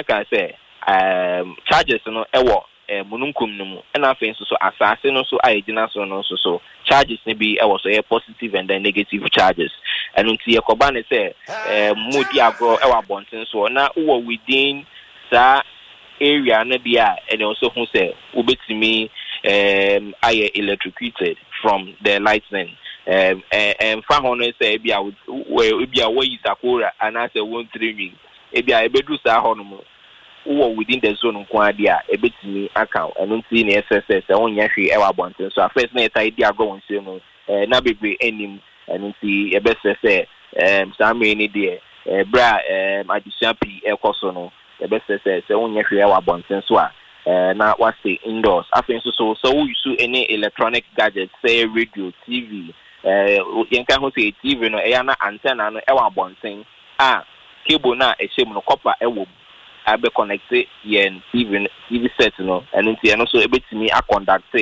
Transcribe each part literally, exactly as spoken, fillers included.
kan kan sɛ um, charges no ɛwɔ eh, mununkum no mu, ɛna afei nso so asase no nso a yɛgyina so no nso so charges no bi ɛwɔ so, ɛyɛ positive and then negative charges. Ɛno nti yɛkɔba ne sɛ eh, mu di agorɔ ɛwɔ abɔnten soɔ na wowɔ within saa area no deɛ a, ɛna nso ho sɛ wobɛtumi um, ayɛ electrocuted from the lightning. um, ɛmfa ho no sɛ ebi a ebi a wɔyi sakora anaasɛ wɔntiri nwi, ebi a ebeduru saa hɔ nom, wowɔ within the zone nko adeɛ a, ebetumi aka wo. Ɛno nti na ɛsɛ sɛ sɛ wonyɛ hwee ɛwɔ abɔnten so a, first na yɛta di agorɔ wɔ nsuo mu ɛɛ na bebree anim. Ɛno nti yɛbɛsɛ sɛ ɛɛm saa mmere ni deɛ, ɛɛ bere a ɛɛm adesua pii ɛkɔ so no, yɛbɛsɛ sɛ sɛ wonyɛ hwee ɛwɔ abɔnten so a, ɛɛ na wase indoors. Afei nso so sɛ woyi any electronic gadget, sɛ radio, T V, ɛɛ yɛnka ho sɛ T V no, ɛyɛ na antenna no ɛwɔ abɔnten a cable no a ɛhyɛ mu no, copper ɛwɔ mu abɛ connect yɛn T V no, T V set no. Ɛno nti ɛno nso ebetumi aconduct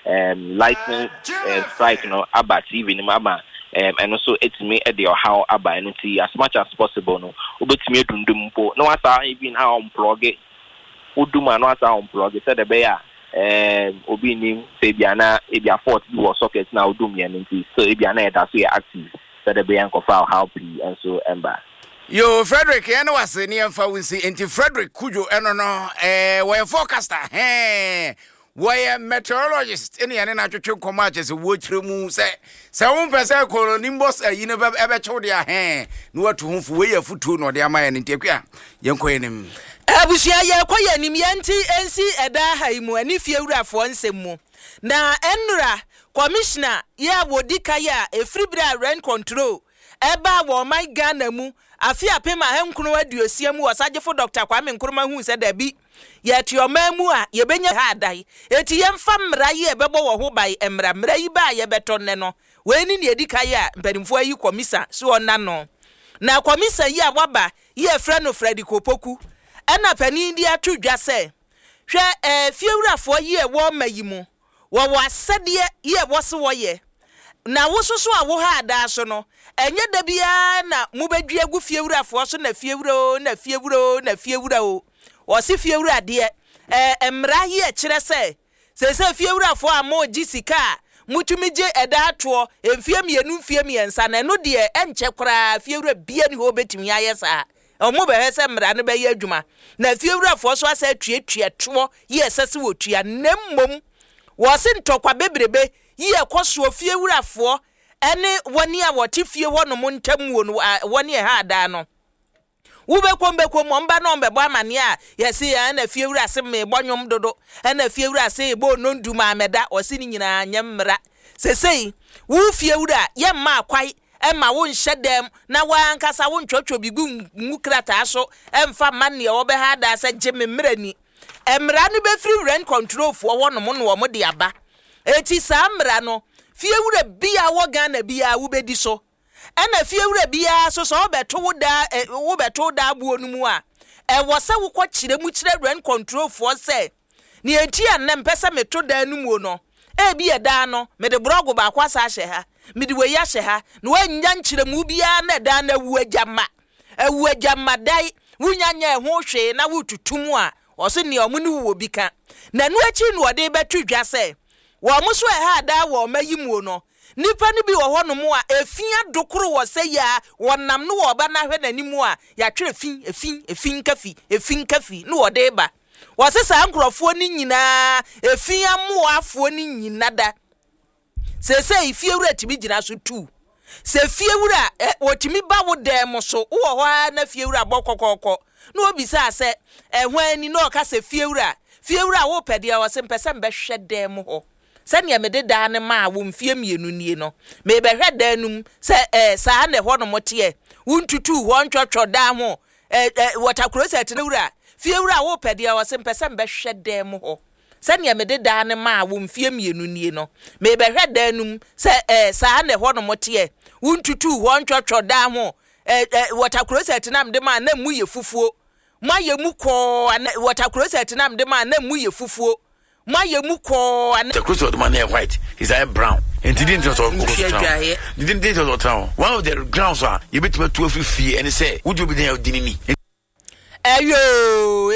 um, lightning uh, strike no aba T V no mu ama um, ɛno nso etumi ɛde ɔhaw aba. Ɛno nti as much as possible no, wobɛtumi adundum mpo na wasa even a unplug, wodum a na wasa unplug, sɛdeɛ ɛbɛyɛ a um, obi nim sɛ ebi ana ebi a fault bi wɔ socket na wodum yɛn no nti so ebi ana ɛda so yɛ active, sɛdeɛ ɛbɛyɛ nkɔfa ɔhaw pii nso ɛmba. Yo, Frederick, yɛne wase ne yɛmfa wo nsi. Enti Frederick Kudwo ɛno no, ɛɛ wɔyɛ forecaster, hɛn wɔyɛ meteorologist, ɛne yɛne no atwetwe nkɔmmɔ akyɛ sɛ wɔkyerɛ mu sɛ sɛ wompɛ sɛ cumulonimbus ayi no ɛbɛkyew deɛ a, hɛn na watu ho fo. Wei yɛ afotuo na ɔde ama yɛ no. Nti Akua, yɛnkɔ yɛ nim. Abusua, yɛkɔ yɛ anim. Yɛnti nsi ɛda ha yi mu ɛne fie wurafoɔ nsɛm mu na ɛnura commissioner yɛ a wɔdi ka yɛ a ɛfiri berɛ a rent control ɛbaa wɔ ɔman Ghana mu afe apem ahankron aduosia mu, Ɔsagyefo Doctor Kwame Nkrumah hu sɛ dabi, yɛte ɔman mu a yɛbɛnya ha adan, eti yɛmfa mmara yi a ɛbɛbɔ wɔ ho ban. Mmara mmara yi ba a yɛbɛtɔ nnɛ no, wei ne nea edi ka yi a mpanimfoɔ ayi commissioner so ɔna no, na commissioner yi a waba yi yɛfrɛ no Frederick Opoku, ɛna panin de ato dwa sɛ, hwɛ, ɛɛ fiewurafoɔ yi a ɛwɔ ɔma yi mu, wɔwɔ asɛdeɛ yi a ɛwɔ so wɔyɛ, na wo soso a wo ha adaa so no, ɛnyɛ da biara na mobɛdua gu fiewurafoɔ so na fiewura o, na fiewura o, na fiewura o. Wɔsi fiewura deɛ, ɛɛ mmara yi ɛkyerɛ sɛ sɛsɛ fiewurafoɔ a mo gye sika a motumi gye ɛda atoɔ mfie mmienu, mfie mmiɛnsa na ɛno deɛ ɛnkyɛ koraa, fiewura bia ni hɔ obɛtumi ayɛ saa. Ɔmo bɛhwɛ sɛ mmara no bɛyɛ adwuma na fiewurafoɔ so asɛ atuatua toɔ yi ɛsɛ sɛ wɔtua, na mmom wɔse ntɔkwa bebrebe yi ɛkɔ soɔ fiewurafoɔ ɛne wɔne a wɔte fie hɔnom ntam wɔ no, wɔne ɛha adaa no, wobɛkɔm bɛkɔm ɔmba na ɔmbɛbɔ amanneɛ a yɛse ɛna fiewura se mebɔ nwom dodo, ɛna fiewura se bɔ nondu maamɛda. Ɔse ne nyinaa nyɛ mmara. Sesei wo fiewura, yɛmma akwae ɛma wo nhyɛ dɛm na wankasa wo ntwɔtwɔ bi gu ngu krataa so ɛmfa ma nea wɔbɛha adaa sɛ gye me mmerɛ ni. Mmara no bɛfiri rent control foɔ hɔnom na wɔn de aba. Eti saa mmara no, fiewura bia wɔ Ghana bia wobɛdi so, ɛna fiewura biara so sɛ wobɛto wo daa ɛ wobɛto wo daa buo no mu a, ɛwɔ sɛ wokɔ kyerɛ mu kyerɛ rent control foɔ sɛ nea eti a nnɛ mpɛ sɛ meto dan no mu no, ebi yɛ dan no mede borɔgo baako asa ahyɛ ha, mede wei ahyɛ ha, na woanya nkyerɛmu biara na dan no awu agyama, awu agyama dan, wonya nyɛ ɛho hwee na wotutu mu a, ɔso nea ɔmo ne wɔ bi ka. Na ɛno akyi na ɔde bɛto dwa sɛ wɔn mo so ɛha adaa wɔ ɔma yi mu no, nipa no bi wɔ hɔnom a efi adokoro wɔ sɛ yi a wɔnam no wɔ ɔba n'ahwɛ n'anim a yɛatwerɛ fi efi efi nkafi efi nkafi na wɔde ba. Wɔse saa nkurɔfoɔ no nyinaa, efi amoafoɔ no nyina da seesei fiewura tumi gyina so tu sɛ fiewura ɛ wɔtumi ba wo dan mu so, wowɔ hɔ ara na fiewura bɔ kɔkɔɔkɔ na obisaa sɛ ɛho ani na ɔka sɛ fiewura, fiewura, wopɛ deɛ? Ɔse mpɛ sɛ mbɛhwɛ dan mu hɔ sɛnea mede dan no maa wo mfie mmienu nie no, mebɛhwɛ dan no mu sɛ ɛɛ saa na ɛhɔ nom teɛ, wontutu hɔ ntwɔtwɔ dan ho ɛɛ ɛɛ water closet no. Wura, fiewura, wopɛ deɛ? Ɔse mpɛ sɛ mbɛhwɛ dan mu hɔ sɛnea mede dan no maa wo mfie mmienu nie no, mebɛhwɛ dan no mu sɛ ɛɛ saa na ɛhɔ nom teɛ, wontutu hɔ ntwɔtwɔ dan ho ɛɛ ɛɛ water closet na mede maa na mu yɛ fufuo, moayɛ mu kɔɔ ana water closet na mede maa na mu yɛ fufuo, moayɛ mu kɔɔ ana The closet man yɛ white, is ayɛ brown. Nti di ntina sɛ ɔkɔ so tena hɔ. Di ntina sɛ ɔtena hɔ. One of the grounds a yɛbɛtumi atu afiri fie ɛne sɛ wodi obi dan a ɔdi ne ni. Ɛyoo.